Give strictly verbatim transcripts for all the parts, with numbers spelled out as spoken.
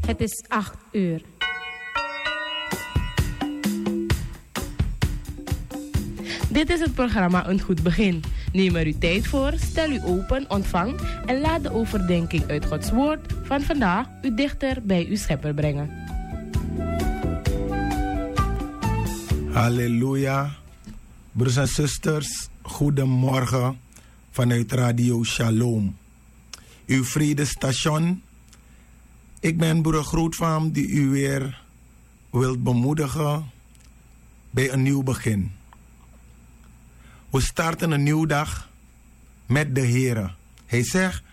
Het is acht uur. Dit is het programma Een Goed Begin. Neem er uw tijd voor, stel u open, ontvang en laat de overdenking uit Gods Woord van vandaag u dichter bij uw Schepper brengen. Halleluja. Broers en zusters, goedemorgen vanuit Radio Shalom, uw vredesstation. Ik ben broeder Grootvaam die u weer wilt bemoedigen bij een nieuw begin. We starten een nieuwe dag met de Here. Hij zegt: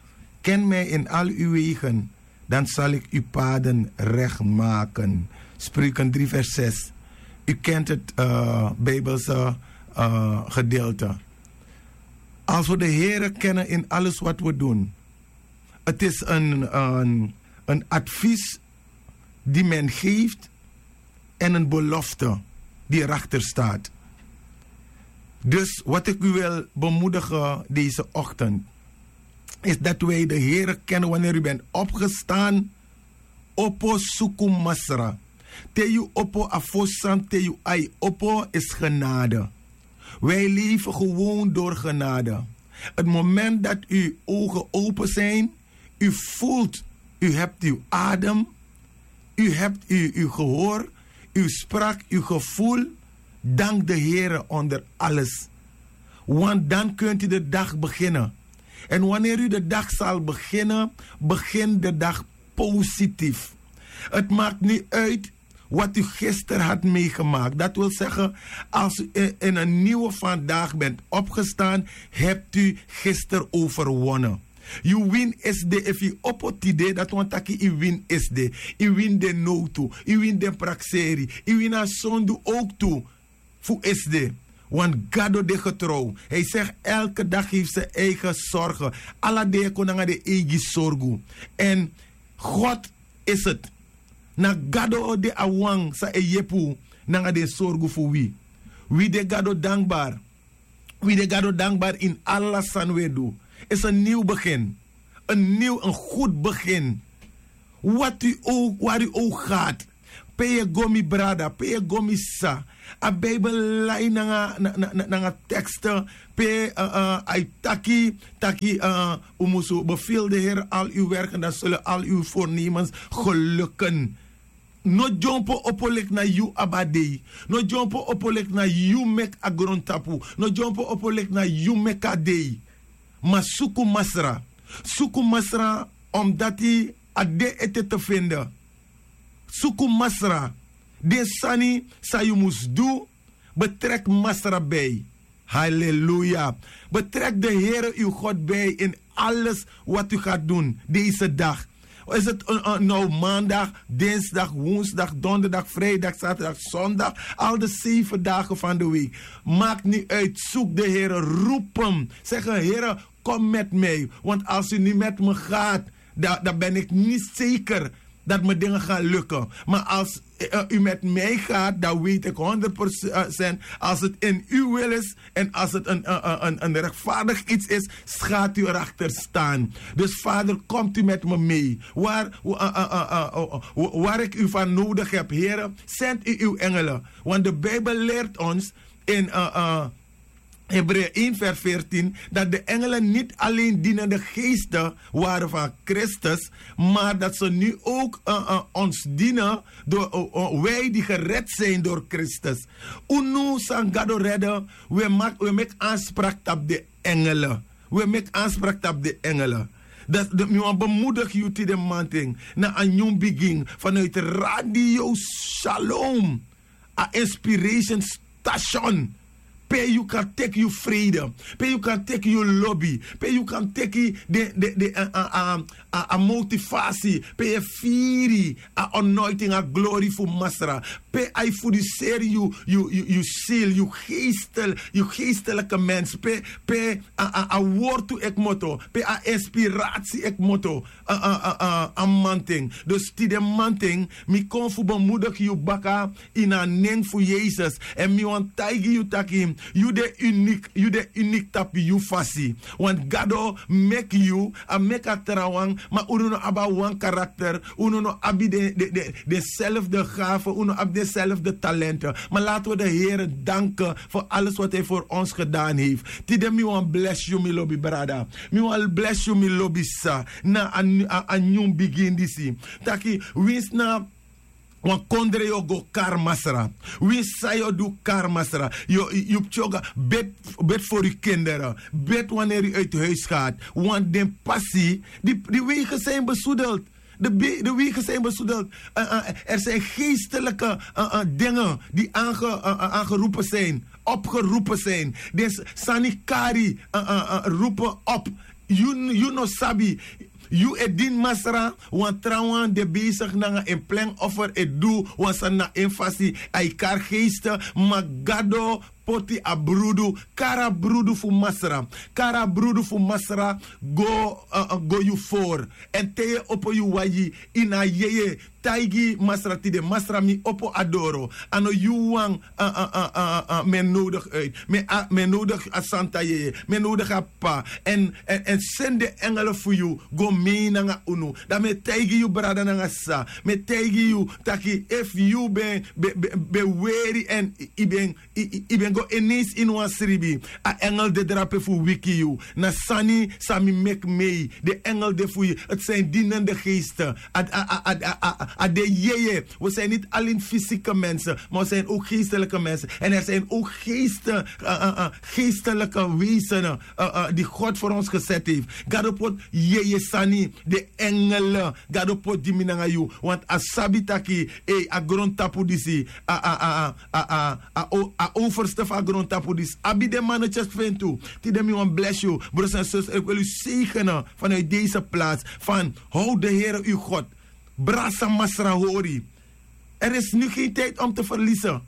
"Ken mij in al uw wegen, dan zal ik uw paden recht maken." Spreuken drie vers zes. U kent het, eh, Bijbelse, eh, gedeelte. Als we de Here kennen in alles wat we doen, het is een, een, een advies die men geeft en een belofte die erachter staat. Dus wat ik u wil bemoedigen deze ochtend, is dat wij de Here kennen wanneer u bent opgestaan. Opo suku Masra. Te yu opo, a fosi sani te yu ai opo is genade. Wij leven gewoon door genade. Het moment dat uw ogen open zijn, u voelt, u hebt uw adem, u hebt uw, uw gehoor, uw spraak, uw gevoel. Dank de Here onder alles. Want dan kunt u de dag beginnen. En wanneer u de dag zal beginnen, begin de dag positief. Het maakt niet uit wat u gisteren had meegemaakt. Dat wil zeggen, als u in, in een nieuwe vandaag bent opgestaan, hebt u gisteren overwonnen. Yu win esde, efu yu opo tide, dati wani taki yu win esde. Yu win den nowtu, yu win den prakseri, yu win a sondu ook tu. Fu esde, want Gado de getrouw. Hij zegt: "Elke dag heeft zijn eigen zorgen." Ala dei e kon nanga den eigi sorgu. En God is het. Na Gado de a wan san e yepi unu nanga den sorgu fu wi. Wi de Gado dankbaar. Wi de Gado dankbaar in ala san wi e du. Is een nieuw begin. Een nieuw, een goed begin. Wat u ook, waar u ook gaat. Pe yu e go, mi brada, pe yu e go, mi sisa. A Bijbel lai nanga, na, na, na, nanga teksten, pe, eh, eh, a e taki, taki, eh, u musu beveel de Heer al uw werken, dan zullen al uw voornemens gelukken. No dyompo opo leki na yu abi a dei. No dyompo opo leki na yu meki a grontapu. No dyompo opo leki na yu meki a dei. Ma suku Masra. Suku Masra, omdati a de ete te vinden. Suku Masra. Den sani san yu mus du, betrek Masra bij. Halleluja. Betrek de Heere uw God bij in alles wat u gaat doen deze dag. Is het een, een, nou maandag, dinsdag, woensdag, donderdag, vrijdag, zaterdag, zondag, al de zeven dagen van de week. Maakt niet uit, zoek de Heere, roep hem. Zeg: "Heere, kom met mij, want als u niet met me gaat, dan, dan ben ik niet zeker dat mijn dingen gaan lukken. Maar als, eh, u met mij gaat, dan weet ik honderd procent, als het in uw wil is en als het een, een, een, een rechtvaardig iets is, gaat u erachter staan. Dus Vader, komt u met me mee. Waar, eh, eh, eh, eh, eh, wa-, waar ik u van nodig heb, Heere, zend u uw engelen." Want de Bijbel leert ons in, eh, eh, Hebreeën één vers veertien, dat de engelen niet alleen dienende geesten waren van Christus, maar dat ze nu ook, eh, eh, ons dienen door, eh, eh, wij die gered zijn door Christus. Unu san Gado rede, we mak-, we meki aanspraak tapu den engelen. We meki aanspraak tapu den engelen. Dat, dat, mi wani bemoedig yu tide mamanten na a nyun bigin vanuit Radio Shalom. A inspiration station. Pe yu kan teki yu vrede, pe yu kan teki yu lobi, pe yu kan teki de, de, de, a, a, a, a, a motivatie, pe yu e firi a anointing, a glory fu Masra, pe a e fuduseri yu, yu, yu, yu ziel, yu geestel-, yu geestelijke mens, pe, pe a, a, a wortu e kmoto, pe a inspiratie e kmoto. A, a, a, a, a mamanten. Dus tide mamanten, mi kon fu bemoedig yu baka ini a nen fu Yesus. En mi wani taigi yu taki, Yu de unik, yu de unik tapu yu fasi. Want gado meki yu, a meki a trawan, ma unu no abi a wan karakter, unu no abi den, den, den, denzelfde gave, unu no abi denzelfde talenten. Maar laten we de Heer danken voor alles wat hij voor ons gedaan heeft. Tide mi wan bless yu, mi lobi brada. Mi wan bless yu, mi lobi sa. Na a, a, a nyun bigin disi. Taki, wins na wan kondre yu o go kari masra. Winsi san yu o du kari masra. Yu, yu, yu ptyoga, bid, bid voor uw kinderen. Bid wanneer u uit huis gaat. Want den pasi, die, die wegen zijn bezoedeld. De, be- de wegen zijn bezoedeld. Eh, eh, er zijn geestelijke eh, eh, dingen die aange, eh, eh, aangeroepen zijn, opgeroepen zijn. Dus sani kari eh, eh, eh, roepen op. Yu, yu no sabi. Yu e dini masra, wan trawan de bezig nanga en plen offer e du, wan sani na en fasi, a e kari geesten, ma gado poti a brudu, kari a brudu fu masra, kari a brudu fu masra, go, eh, eh, go yu voor. En te yu e opo yu wagi, ini a yeye, taigi masra tide, masra mi opo a doro, a no yu wan, eh, eh, eh, eh, eh, mi e nodig uit, mi e, mi e nodig a santa yeye, mi e nodig a p'pa, en, en, en seni den engele fu yu go mei nanga unu. Dan mi e taigi yu brada nanga sisa, mi e taigi yu taki efu yu ben, ben, ben, ben weri en yu ben, yu, yu, yu ben go ineens ini wan sribi, a engel de drape fu wiki yu. Na sani san mi meki mei, den engel de fu yu, het zijn dienende geesten. A, a, a, a, a, a, a de yeye. We zijn niet alleen fysieke mensen, maar we zijn ook geestelijke mensen. En er zijn ook geesten, eh, eh, eh, geestelijke wezenen, eh, eh, die God voor ons gezet heeft. Gado poti yeye sani, den engelen. Gado poti gi mi nanga yu. Want a sabi taki, eh, a grondtapu disi, a, a, a, a, a, a, o- a overste fu a grondtapu disi abi den manetjes fu en tu. Tide mi wan bless yu, broers en zusters, ik wil u zegenen vanuit deze plaats. Van, houd de Heer uw God. Brasa masra hori. Er is nu geen tijd om te verliezen.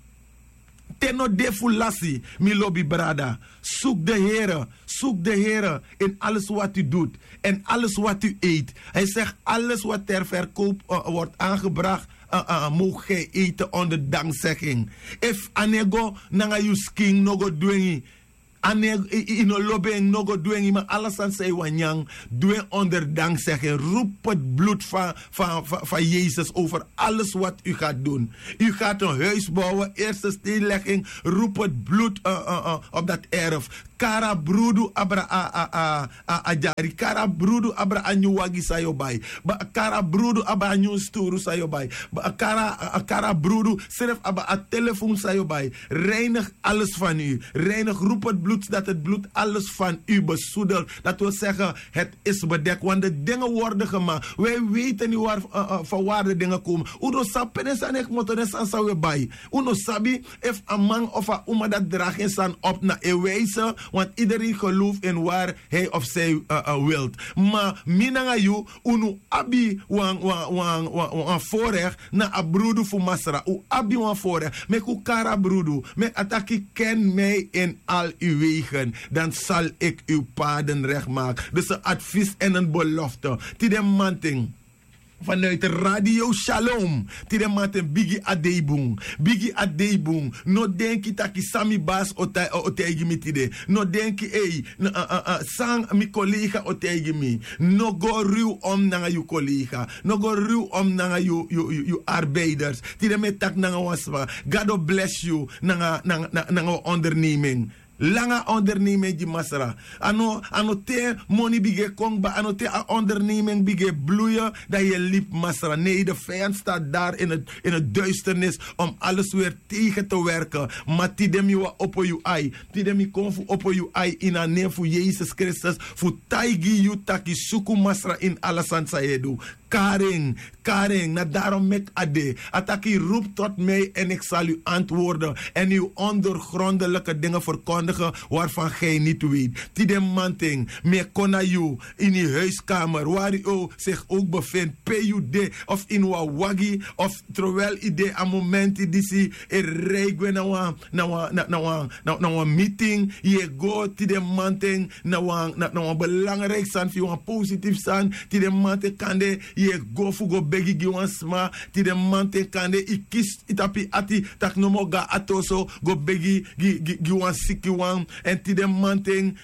Te no de fu lasi, mi lobi brada. Zoek de Heer, zoek de Heer in alles wat u doet en alles wat u eet. Hij zegt: alles wat ter verkoop, eh, wordt aangebracht, eh, eh, mogen gij eten onder dankzegging. Efu a no e go nanga yu skin, no go dwengi. A no e, yu, yu no lobi en, no go dwengi, ma ala sani san yu wani nyan, du en onder dankzegging. Roep het bloed van, van, van, van Jezus over alles wat u gaat doen. U gaat een huis bouwen, eerste steenlegging, roep het bloed, eh, eh, eh, op dat erf. Kari a brudu abra a, a, a, a, a dyari. Kari a brudu abra a nyun wagi san yu o bai. Ba, kari a brudu abra a nyun sturu san yu o bai. Ba, kari a, a, kari a brudu srefi abra a telefon san yu o bai. Reinig alles van u. Reinig, roep het bloed, dat het bloed alles van u bezoedelt. Dat wil zeggen, het is bedekt. Want de dingen worden gemaakt. Wij weten niet waar, eh, eh, van waar de dingen komen. Un no sabi pe den sani e kmoto, den sani san wi e bai. Un no sabi efu a man of a uma dati dragi en sani op na en wijze, want iedereen gelooft in waar hij of zij, eh, eh, wilt. Ma mi nanga yu, unu abi wan, wan, wan, wan, wan voorrecht na a brudu fu Masra. Un abi wan voorrecht. Meki un kari a brudu. Meki a taki: ken mij in al uw wegen, dan zal ik uw paden recht maken. Dus een advies en een belofte. Tide mamanten, vanuit Radio Shalom. Tide mamanten, bigi a dei bun. Bigi a dei bun. No denki taki san mi basi o tai-, o, o taigi mi tide. No denki, ei, n-, a, a, a, san mi collega o taigi mi. No go ruw om nanga yu collega. No go ruw om nanga yu, yu, yu, yu arbeiders. Tide mi e taki nanga wan sma. Gado bless yu nanga, nanga, nanga, nanga wan onderneming. Langa onderneming gi Masra. A no, a no te moni bigin e kon kba, a no te a onderneming bigin e bloeien, dan yu e libi Masra. Nee, de vijand staat daar in het, in het duisternis om alles weer tegen te werken. Ma tide mi wani opo yu ai. Tide mi kon fu opo yu ai ini a nen fu Yesus Kristus, fu taigi yu taki suku Masra ini ala sani san yu e du. Kari en, kari en, na daarom meki a de. A taki: roep tot mij en ik zal u antwoorden en uw ondoorgrondelijke dingen verkondigen waarvan gij niet weet. Tide mamanten, mi e kon na yu ini yu huiskamer, waar u o-, zich ook bevindt, pe yu de, of ini wan wagi, of terwijl yu de a momenti disi e rei gwe na wan, na wan, na, na wan, na, na wan meeting, yu e go tide mamanten, na wan, na, na wan belangrijk sani fu yu, wan positief sani, tide mamanten kande Yu e go fu go begi gi wan sma. Tide mamanten kande yu kisi yu tapu yu ati tak' nomo go na ati oso go begi gi wan sikiwan. Èn tide mamanten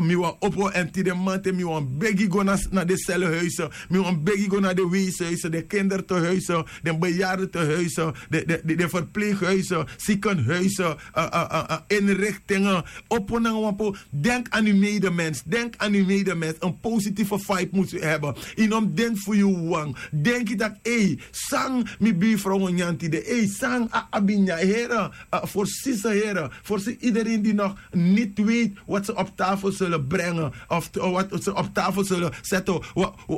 mi wani opo èn tide mamanten mi wani begi go na den selhuise. Mi wani begi go na den weishuise, den kindertehuise, den beyardetehuise, den verpleeghuise, ziekenhuise, inrichtingen. Opo nanga wan po. Denk aan uw medemens. Denk aan uw medemens. Een positieve vibe moet u hebben. Yu no mus denki fu yu wawan. Denki tak' ei, san mi birfrow o nyan tide? Ei, san a abi nyan? Here, voorzien ze here, voorzien iedereen die nog niet weet wat ze op tafel zullen brengen of wat ze op tafel zullen zetten.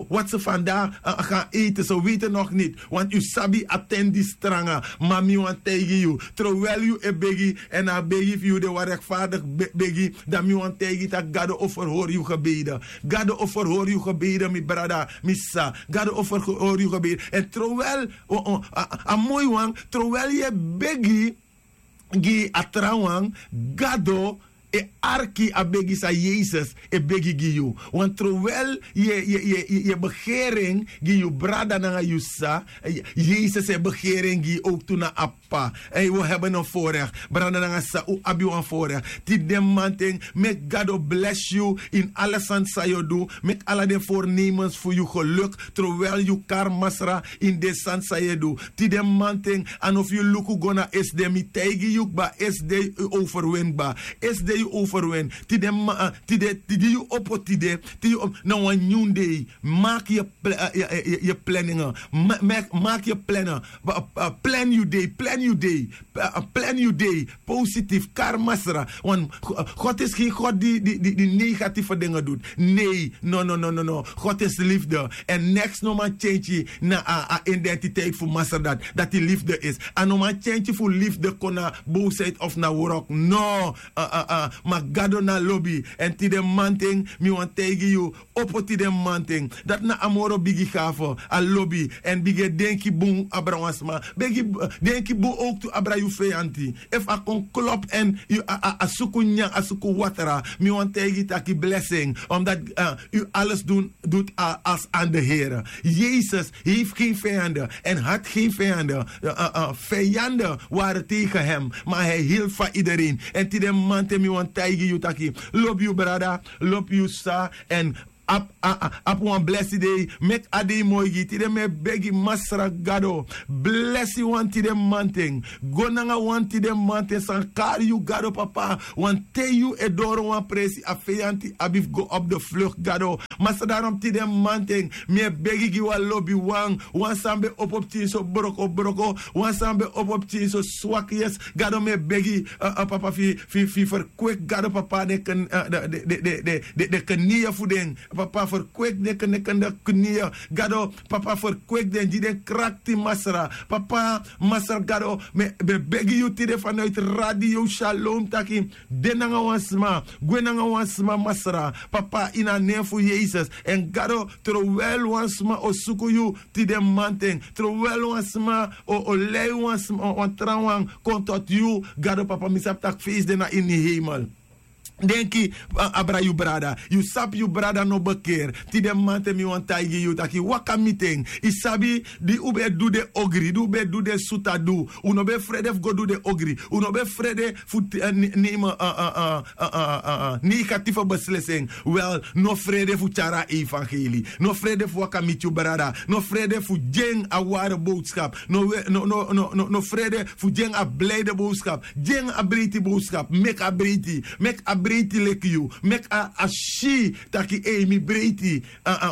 Wat ze vandaag gaan eten, ze weten nog niet. Want yu sabi a ten di stranga. Ma mi wani taigi yu, trowel yu e begi èn a begi fu yu de wan rekfardigi begi, dan mi wani taigi yu tak' gado o ferhori yu gebede. Gado o ferhori yu gebede, mi brada, mi sisa. Gado o ferhori yu gebede. Èn trowel a moi wan, trowel yu e begi gi a trawan, gado e arki a begi san yesus e begi gi yu. Want trowel yu e begeri en gi yu brada nanga yu sisa, yesus e begeri en gi yu owktu na a p'pa. Èn yu o hebi en forex. Brada nanga sisa, un abi wan forex. Tide mamanten meki gado blesi yu ini ala sani san yu o du. Meki ala den voornemens fu yu geluk. Trowel yu kari masra ini den sani san yu e du. Tide mamanten a no fu yu luku go na esde, mi taigi yu kba, esde yu overwin kba. Esde yu overwin. Tide ma tide tide yu opo tide. Tide yu opo na wan nyun dei. Maki yu planingen. Maki yu planen. Plan yu dei, plan yu dei. Plan yu dei. Positif, kari masra. Want god is gen god di negatieve dingen dut. Nee. No no no no no. God is liefde. Èn neks no man tyentyi na a identiteit fu masra dati, dati liefde is. A no man tyentyi fu liefde kon na boosheid of na wrok. No. Ma gado na lobi. Èn tide mamanten mi wani taigi yu, opo tide mamanten. Dati na a moro bigi gafe. A lobi. Èn bigin e denki bun abra wan sma. Begi denki bun owktu abra yu feyanti. Efu a kon klopu èn a suku nyan, a suku watra, mi wani taigi yu tak' yu blesi en. Omdati yu ales dun dut als an de here. Yesus heifti gen viyande. Èn hati gen viyande. Viyande wari tegen hem. Ma hi hilti fa idereen. Èn tide mamanten mi wani taigi yu tak' yu lobi yu brada, lobi yu sisa. Èn abi wan blesi dei. Meki a dei moi gi yu. Tide mi e begi masra gado, blesi wan tide mamanten. Go nanga wan tide mamanten san kari yu gado papa. Wanten yu e doro wan presi a feyanti abi fu go opu de fluk gado. Masra darom tide mamanten mi e begi gi wan lobiwan, wan san ben opo pikin so broko broko, wan san ben opo pikin so swaki yes. Gado mi e begi papa fu yu ferkweki gado papa den kniye fu den. Papa ferkweki den kniye. Gado papa ferkweki den gi den krakti masra. Papa masra gado, mi e begi yu tide fanuiti radio shalom taki, de nanga wan sma, gwe nanga wan sma masra. Papa ini a nen fu yesus. Èn gado, trowel wan sma o suku yu tide mamanten, trowel wan sma o lei wan trawan kon toti yu. Gado papa mi sabi tak' feisi de na ini heimel. Denki abra yu brada. Yu sabi yu brada no bekeri. Tide mamanten mi wani taigi yu tak' yu waka miti en. Yu sabi, di un ben e du den ogri, di un ben e du den suta du, un no ben e frede fu go du den ogri. Un no ben e frede fu nemen negatife beslisi en. Wel, no frede fu tyari a evangeli. No frede fu waka miti yu brada. No frede fu gi en a ware bowskap. No frede fu gi en a blide bowskap. Gi en a breiti bowskap. Meki a breiti. Meki a breiti leki yu. Meki a si taki ei mi breiti.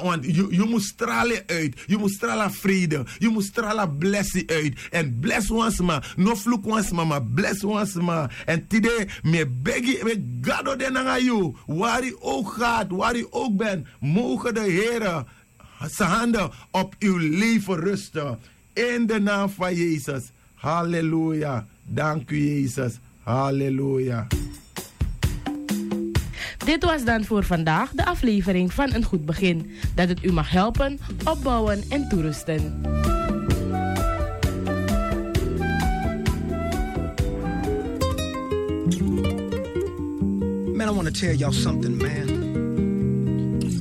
Want yu mus strali en uit. Yu mus strali a freide. Yu mus strali a blesi uit. Èn blesi wan sma. No fluku wan sma ma blesi wan sma. Èn tide mi e begi, meki gado de nanga yu. Wari yu owk gati, wari yu owk ben, moge de here san hande op yu leven rusten. In de naam van yesus. Halleluja. Dank u yesus. Halleluja. Dit was dan voor vandaag de aflevering van een goed begin, dat het u mag helpen, opbouwen en toerusten. Man, I want to tell y'all something, man.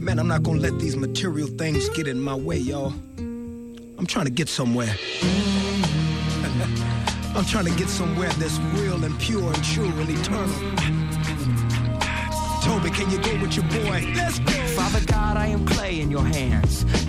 Man, I'm not going to let these material things get in my way, y'all. I'm trying to get somewhere. I'm trying to get somewhere that's real and pure and true and eternal. Toby, can you go with your boy? Let's go. Father God, I am clay in your hands.